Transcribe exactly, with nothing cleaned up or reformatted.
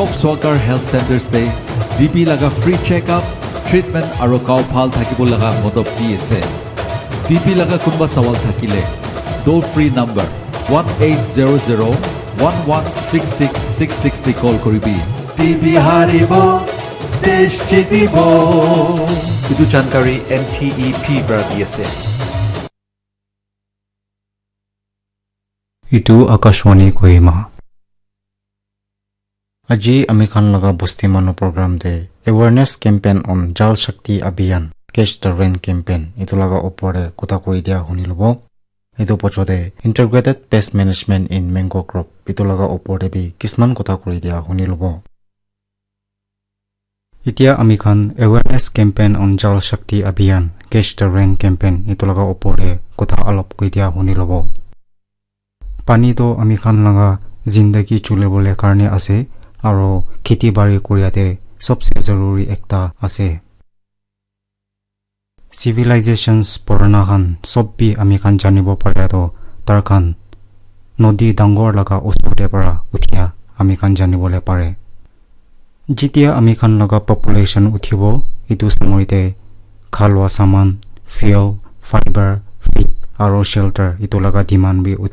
Top Swakar Health Centers te T B laga free check-up, treatment aro gao bhal thakibo laga modop di ase. T B laga kunba sawal thakile, toll free number one eight zero zero one one six six six six te call koribi. T B haribo, desh jitibo. Etu jankari N T E P para di ase. Etu Akashvani Kohima. Aji ami khan laga bosti manu program te awareness campaign on Jal Shakti Abhiyan, Catch the Rain campaign, etu laga opor te kotha kuri dia huni lobo. Etu pocho te Integrated Pest Management in Mango Crop, etu laga opor te bi kisman kotha kuri dia huni lobo. Etia ami khan awareness campaign on Jal Shakti Abhiyan, Catch the Rain campaign, etu laga opor te kotha alop koi dia huni lobo. Pani toh ami khan laga zindagi chulibole karne ase, aro kheti bari kuria te sobse zaruri ekta ase. Civilizations purana khan sob bi ami khan janibo paria toh tar khan nodi dangor laga usor te para uthia ami khan janibole pare. Jitia ami khan laga population uthibo, etu samoi te khalua saman, fuel, fiber, feed aro shelter etu laga demand bi uthi